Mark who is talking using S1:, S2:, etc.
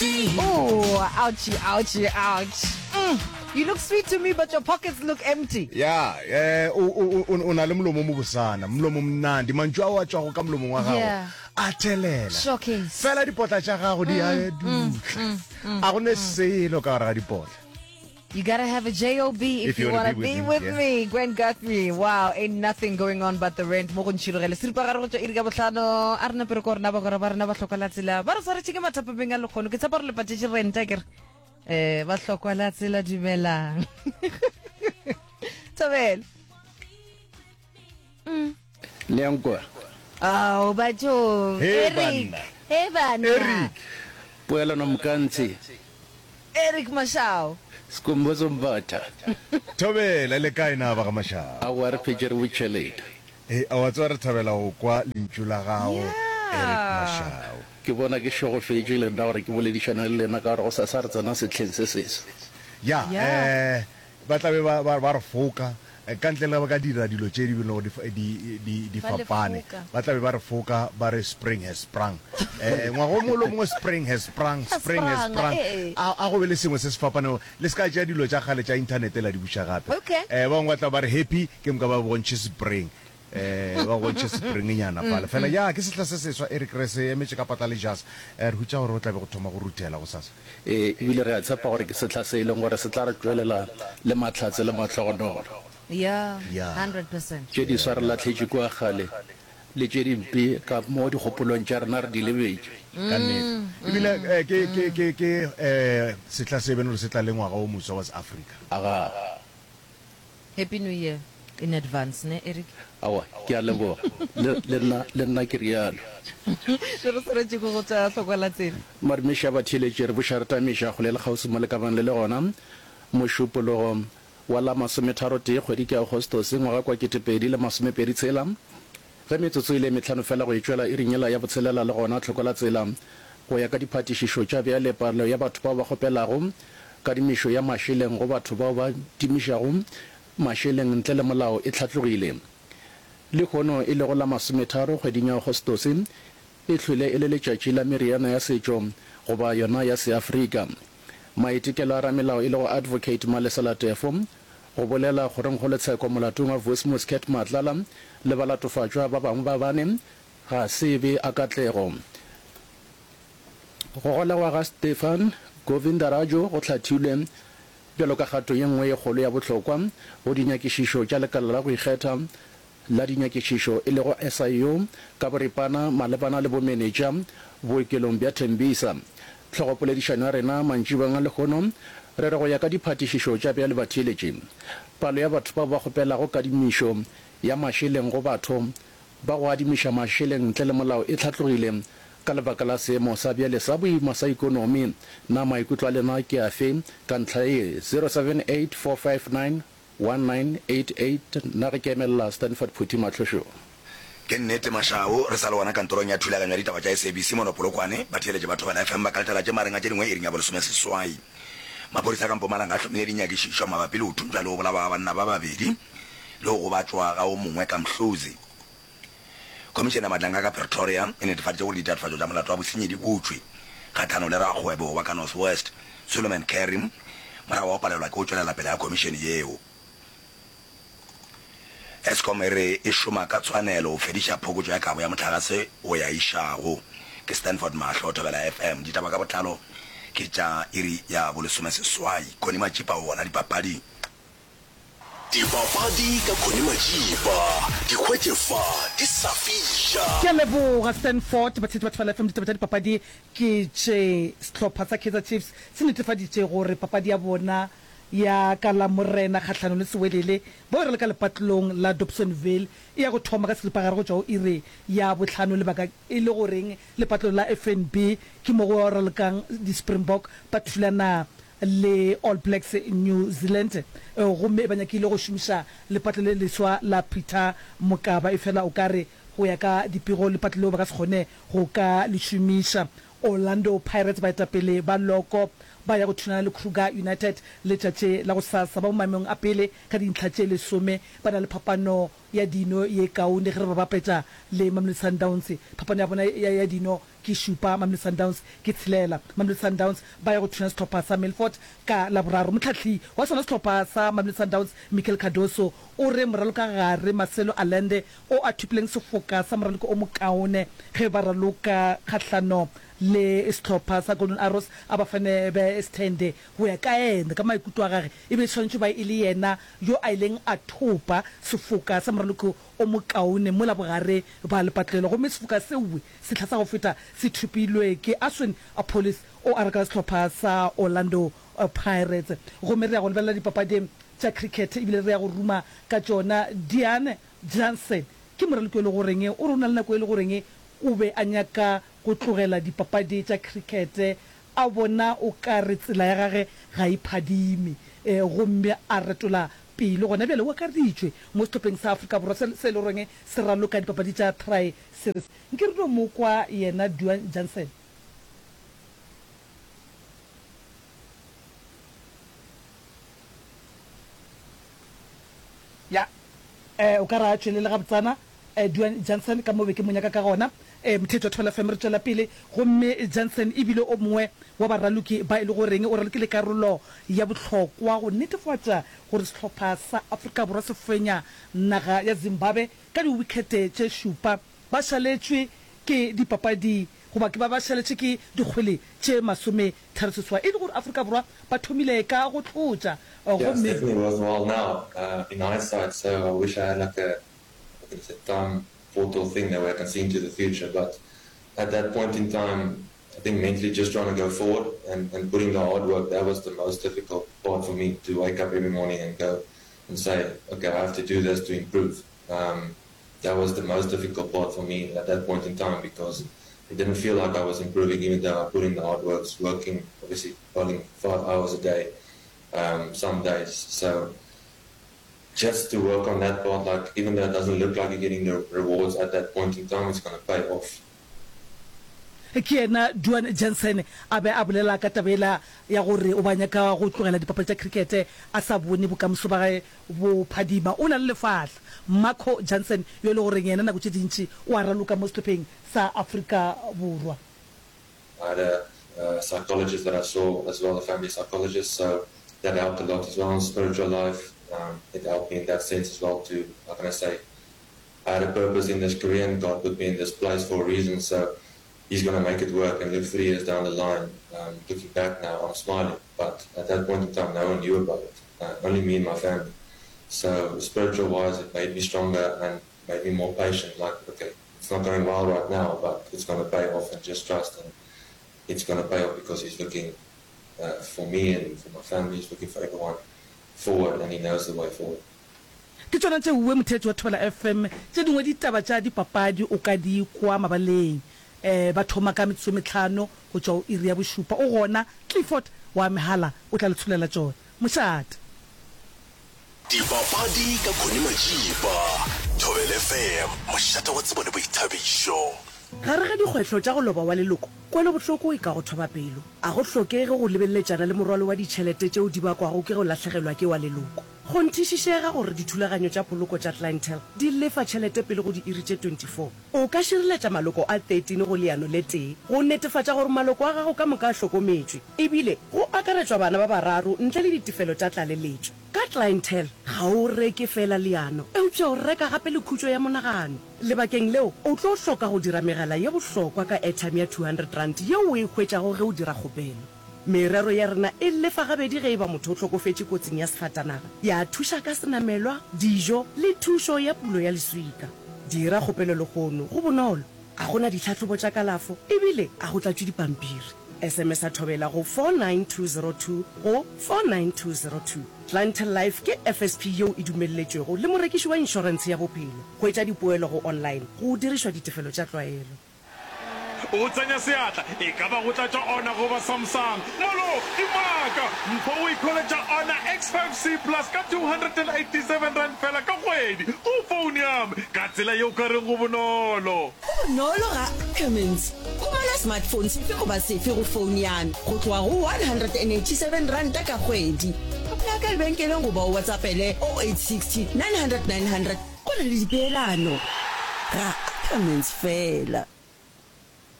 S1: Oh, ouchie, ouchie, ouch. Mm, you look sweet to me, but your pockets look empty.
S2: Ya, eh, o, o, o, o na le molomo o mobosana, molomo mnandi, mantšu ao a tšwago ka molomong wa gago
S1: Yeah.
S2: a thelela.
S1: Showcase.
S2: Fela dipotla tša gago di a dutla. A go ne selo ka gare ga dipotla.
S1: You gotta have a JOB if,
S2: If you
S1: you
S2: wanna
S1: wanna
S2: be
S1: be
S2: with me,
S1: with
S2: yeah.
S1: me. Gwen Guthrie, wow, ain't nothing going on but the rent. Mo go ntšhirogele. Seripagare go tšwa iri ka bohlano. A re nape re ko rena bagwera ba rena ba hlokwa la tsela. Ba re swaretše ke mathapameng a lekgono. Ke tshepa gore le patetše rent akere. Eh, ba hlokwa la tsela dumelang. Thobela.
S3: Le a nkwa?
S1: Ao, bathong.
S2: He
S1: Eric.
S2: banna.
S1: He banna.
S2: Eric.
S3: Poelano Mokantsi.
S1: Eric Mashau.
S3: Skhumbuzo Mbatha.
S2: Thobela, le kae na ba ga Mashau?
S3: Aowa re phetše re botšhelete.
S2: Hei, a wa tseba re thabela go kwa lentšu la gago, Eric Mashau.
S3: Ke bona ke šegofetše le nna gore ke boledišane le lena ka gore gosasa re tsena sehleng se seswa.
S2: Ya, eh, Ba tla be ba, ba, ba re foka, ka ntle le ge ba ka dira dilo tše di lego di, di, di, di
S1: Ba le
S2: fapane.
S1: foka.
S2: Ba tla be ba re foka, ba re spring has sprung. Eh, ngwaga o mongwe le o mongwe spring has sprung,
S1: Has
S2: spring has
S1: sprung,
S2: sprung.
S1: ee.
S2: A, a go be le sengwe se se fapanego. Le se ka tšea dilo tša kgale tša inthanete la di buša gape.
S1: Okay.
S2: Eh, ba bangwe ba tla ba re happy, ke moka ba bontšhe spring. Eh, ba bontšhe springnyana fale. Fela, ya, ke sehla se seswa, Eric, re se emetše ka patla le jazz. Eh, re hutša gore go tla be go thoma go ruthela gosasa.
S3: Ee, e bile re a tshepa gore ke sehla se e leng gore se tla re tšwelela le mahlatse le mahlogonolo.
S1: Yeah,
S2: Yeah.
S1: 100%.
S3: Tše diswa re lahletše kua kgale, le tše dimpe ka mo dikgopolong tša rena re di lebetše.
S2: Ka nnete. Ebile eh, ke, ke, ke, ke eh, sehla se beno gore se tla le ngwaga o moswa wa Seafrika.
S3: Agaa.
S1: Happy New Year in advance, ne Eric?
S3: Aowa, ke a leboga. Le, le nna, le nna ke realo.
S1: Le re swanetše ke go tšwa hlokwa la tsela.
S3: Madumeši a batheeletši, re buša re tamiša kgole le kgauswi mo le ka bang le le gona. Mošupologo wa la masometharotee kgwedi ke Agostose ngwaga kwa 2026, ge metsotso e le e mehlano fela go e tšwela iring yela ya botshelela le gona tlhoko la tsela. Go ya ka diphatišišo tša bjale, palo ya batho bao ba kgopelago kadimišo ya mašeleng go batho bao ba timišago mašeleng ntle le molao e hlatlogile. Lehono, e lego la masometharo kgweding ya Agostose, e hlwele e le letšatši la meriana ya setšo goba yona ya Seafrika. Maitekelo a ramelao e lego Advocate Malesela Teffo go bolela kgorongkgolotsheko molatong wa Vusimuzi Cat Matlala le balatofatšwa ba bangwe ba bane ga se be a katlego. Go golegwa ga Stefan Govindaraju go hlathilwe bjalo ka kgato ye nngwe ye kgolo ya bohlokwa go dinyakišišo tša lekala la go ikgetha la dinyakišišo e lego SIU ka boripana malebana le bomenetša bookelong bja Tembisa. Hlogopoledišano ya rena mantšiboeng a lehono re re go ya ka diphatišišo tša bjale batheeletši, palo ya batho bao ba kgopelago kadimišo ya mašeleng go batho ba go adimiša mašeleng ntle le molao e hlatlogile ka lebaka la seemo sa bjale sa boima sa ikonomi. Na maikutlo a lena ke afe ka ntlha ye? 0784591988 Nna ge ke emelela Stanford Phuthi Mahlošo.
S4: Ke nnete Mashau, re sa le gona kantorong ya thulaganyo ya ditaba tša SABC mono Polokwane, batheeletši ba Thobela FM ba ka letela tše mareng a tše dingwe iring ya bolesomeseswai. Maphodisa a ka Mpumalanga a hlomile dinyakišišo mabapi le go thuntšwa le go bolawa ga banna ba babedi le go gobatšwa ga o mongwe ka Mhluzi. Khomišene ya Madlanga ka Pretoria e netefaditše gore ditatofatšo tša molato wa bosenyi di butšwe kgahlanong le rakgwebo wa ka North West, Suleiman Carrim, morago ga go palelwa ke go tšwelela pele ga khomišene yeo. Eskom e re e šoma ka tshwanelo go fediša phokotšo ya kabo ya mohlagase go ya išago. Ke Stanford Mahlo, Thobela FM. Ditaba ka botlalo ke tša iri ya bolesomeseswai. Connie Matšipa o gona dipapading.
S5: Dipapadi ka Connie Matšipa, di hwetše fa di sa fiša.
S6: Ke a leboga Stanford. Batheetši ba Thobela FM, ditaba tša dipapadi ke tše. Sehlopha sa Kaizer Chiefs se netefaditše gore papadi ya bona ya ka Lamorena kgahlanong le Sewelele bao e raloka lepatlelong la Dobsonville e ya go thoma ka seripagare go tšwa go iri ya bohlano lebaka e le goreng lepatlelo la FNB ke mo go ralokang di-Springbok ba thulana le All Blacks New Zealand gomme ba nyakile go šomiša lepatlo le leswa la Peter Mokaba efela o ka re go ya ka dipego lepatlo leo ba ka se kgone go ka le šomiša. Orlando Pirates baetapele ba loko ba ya go thunana le Kruger United letšatši la gosasa. Ba mo maemong a pele ka dintlha tše lesome, ba na le phapano ya dino ye kaone ge re ba bapetša le Mamelodi Sundowns. Phapano ya bona ya dino ke šupa, Mamelodi Sundowns ke tshelela. Mamelodi Sundowns ba ya go thuna sehlopha sa Milford ka Laboraro. Mohlahli wa sona sehlopha sa Mamelodi Sundowns, Miguel Cardoso, o re moralokagare Marcelo Allende o a thopileng sefoka sa moraloko o mokaone ge ba raloka kgahlano le sehlopha sa Golden Arrows a ba fane be Sthende. Go ya ka yena, ka maikutlo a gage, e be e swanetše go ba e le yena yo a ileng a thopa sefoka sa moraloko o mokaone mola bogare ba lepatlelo gomme sefoka seoe sehla sa go feta se thopilwe ke Aswin Appollis o a reka sehlopha sa Orlando Pirates. Gomme re ya go lebelela dipapadi tša cricket ebile re ya go ruma ka tšona. Diane Jansen ke moraloki o le goreng o re o na le nako e le goreng o be a nyaka go tlogela dipapadi tša cricket a bona o ka re tsela ya gage ga e phadime gomme a retola pelo. Gona bjale o akareditšwe mo sehlopheng sa Afrika Borwa se se e le goreng se raloka dipapadi tša Tri Series. Nke re no mo kwa yena Duan Jansen. Ya, eh, o ka re a tšwelele gabotsana, eh, Duan Jansen, ka mo be ke mo nyaka ka gona. Eh, motheetši wa Thobela FM, re tšwela pele. Gomme Jansen e bile o mongwe wa baraloki ba e le goreng o ralokile karolo ya bohlokwa go netefatša gore sehlopha sa Afrika Borwa se fenya naga ya Zimbabwe ka diwikhete tše šupa. Ba šaletšwe ke dipapadi goba ke ba ba šaletše ke dikgwele tše masometharoseswai e le gore Afrika Borwa ba thomile ka go tlotša
S7: Yeah, it's
S6: gomme
S7: definitely worthwhile now in hindsight, so I wish I had like a, how can I say, time portal thing that way I can see into the future, but at that point in time, I think mentally just trying to go forward and, and putting the hard work, that was the most difficult part for me, to wake up every morning and go and say, okay, I have to do this to improve. Um, that was the most difficult part for me at that point in time because it didn't feel like I was improving even though I put in the hard work, working, obviously bowling 5 hours a day um, some days. So just to work on that part, like even though it doesn't look like you're getting the rewards at that point in time, it's going to pay off.
S6: Ke yena Duan Jansen a be a bolela ka taba yela ya gore o ba nyaka go tlogela dipapadi tša krikete a sa bone bokamoso ba gage bo phadima. O na le lefahla, Marco Jansen, yo e le goreng yena nako tše dintši o a raloka mo sehlopheng sa Afrika Borwa.
S7: I had a psychologist that I saw as well, a family psychologist, so that helped a lot as well in spiritual life. Um, it helped me in that sense as well to, how can I say, I had a purpose in this career and God put me in this place for a reason, so he's going to make it work. And look, three years down the line, um, looking back now, I'm smiling. But at that point in time, no one knew about it, uh, only me and my family. So spiritual-wise, it made me stronger and made me more patient. Like, okay, it's not going well right now, but it's going to pay off, and just trust and it's going to pay off because he's looking uh, for me and for my family, he's looking for everyone forward, and he knows the way forward.
S6: Ke tšona tše uwe motheetši wa Thobela FM. Tše dingwe ditaba tša dipapadi o ka di kwa mabaleng. Um ba thoma ka metsotso e mehlano go tšwa go iri ya bošupa. O gona Clifford wa Mehala o tla le tsholela tšona. Mošate.
S5: Dipapadi ka Connie Majiba, Thobela FM, mošate wa tsebo le boithabišo.
S8: Gare ga dikgwehlo tša go loba wa leloko, kwelobohloko e ka go thoba pelo. A go hlokege go lebeleletšana le morwalo wa ditšhelete tšeo di bakwago ke go lahlegelwa ke wa leloko. Kgonthišišega gore dithulaganyo tša poloko tša Clientele di lefa tšhelete pele go diiri tše 24. O ka šireletša maloko a 13 go leano le tee go netefatša gore maloko a gago ka moka a hlokometšwe, ebile go akaretšwa bana ba bararo ntle le ditefelo tša tlaleletšo. Ka Clientele, ga o reke feela leano, eupša o reka gape le khutšo ya monagano. Lebakeng leo, o tlo hloka go dira megala ye bohlokwa ka airtime ya R200 yeo o e hwetšago ge o dira kgopelo. Merero ya rena e lefa gabedi ge e ba motho o hlokofetše kotsing ya sefatanaga, ya thuša ka senamelwa, dijo le thušo ya pulo ya leswika. Dira kgopelo lehono, go bonolo, ga go na ditlhahlobo tša kalafo e bile ga go tlatšwe dipampiri. SMS-a Thobela go 49202 go 49202. Clientele Life ke FSP yeo e dumelletšwego le morekiši wa inšorentshe ya bophelo. Hwetša dipoelo go online go dirišwa ditefelo tša tlwaelo.
S9: O tsenya seatla, e ka ba go tlatša Honor goba Samsung. Molo, Dimaka! Mpho o ikholetša Honor X5C Plus ka R287 fela ka kgwedi go phone ya me, ka tsela ye o ka reng go bonolo.
S10: Go bonolo ga Cummins. Humana. Reka smartphone sefe goba sefe go phone ya me go tloga go R187 ka kgwedi. Applaya ka lebenkeleng goba o WhatsAppele 0860 900 900 Go na le dipeelano. Ga Ackermans fela.